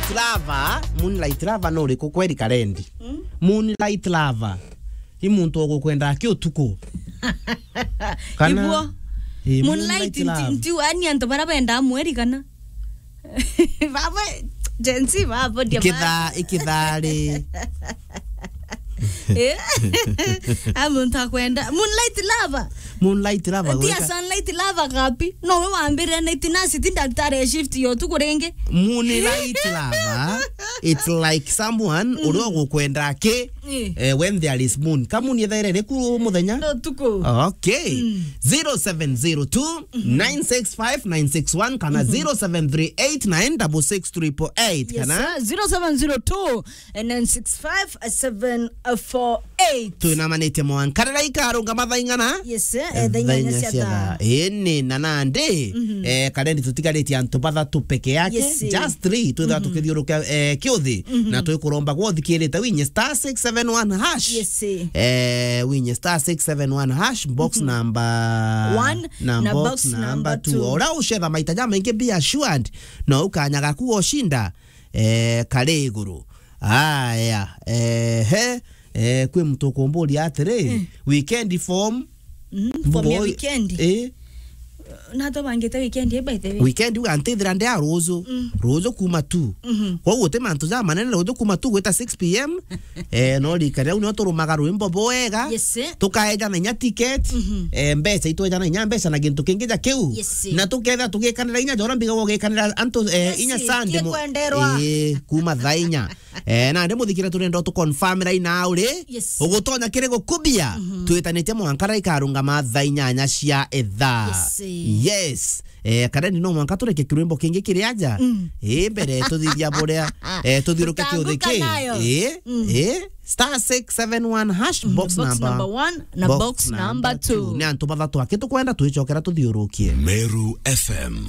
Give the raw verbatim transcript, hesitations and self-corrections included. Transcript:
Moonlight lover, moonlight lover no uriku kweri Karendi? Mm. Moonlight lover. I muntu ugukwenda aki utuku. Kana Iguo. Eh, moonlight lover. Nti, nti, ani antu bara benda mweri kana? Baba, Gen Z, baba, ndia Ikitha-, ikithari. Eh? A muntu akwenda. Moonlight lover. Moonlight lover, Ndia gwika- sunlight lover kapi? No we wambire night nurse, ti daktari ya shift ya utuku ringi. Moonlight lover, it's like someone uria ugukwenda aki, Eh. eh, when there is moon. Ka moon ithaire iriku muthenya? No tuku. Okay. Mm. zero seven zero two, nine six five, nine six one kana zero seven three eight nine six six triple eight. Yes, kana sir. Zero seven zero two, nine six five, seven four eight. Twinamanitie mwanka riria ikarungama thaa ing'ana? Yes, eh, thaa inyanya cia thaa. Ini na nandi, eh, Karendi tutigaritie antu bathatu peke yake. Yes, eh. Just three, twithira tukithiurukia, eh, kiuthi. Na twikuromba gwe uthikirite winye star six seven one hash. Yes, eh. Eh, winye star six seven one hash, box number One na box number two. Uria ucetha maita jamaingi, be assured, no ukanya gaku goshinda, eh, kari iguru. Aya, eh, he, eh, kwi muntu ukumburia atiri, weekend form, Mm, form ya boy, weekend. Eh. Na tubangite weekend, eh, by the way. Weekend uga ntithira ndia ruju. Mm. Ruju kuma two. Mhm. Koguo ti mantu ja manene ruju kuma two gwita six p m. Eh, no rikari au nio turumaga rwimbo bwega. Yes, eh. Tukaejana inya ticket. Mhm. Eh, mbeca itwejana inya mbeca na gintu kingi ja kiu. Yes, eh. Na tuketha tugikanira inya jora mbiga gugikanira antu, eh, Yes, inya eh. Sunday mo-, Kikwenderwa. Eh, kuma thaa inya. Eh, nandi muthikire turenda tu confirm rai na uri. Yes. Ugutonya kiri gukubia. Mhm. Twitanitie mwanka rai karungama thaa inyanya cia ithaa. Yes. Yes. Eh, Karendi no mwanka tureke kirwimbo kingi kiri aja. Mm. Eh, mbere tuthithia buria, eh, tuthiuruke kiuthi Tutanguka ki. Nayo. Eh, Mm. eh, star six seven one hash, mm, box box number, number one na box box number number two. Ni antu bathatu aki tukwenda twicokera tuthiurukie. Meru F M.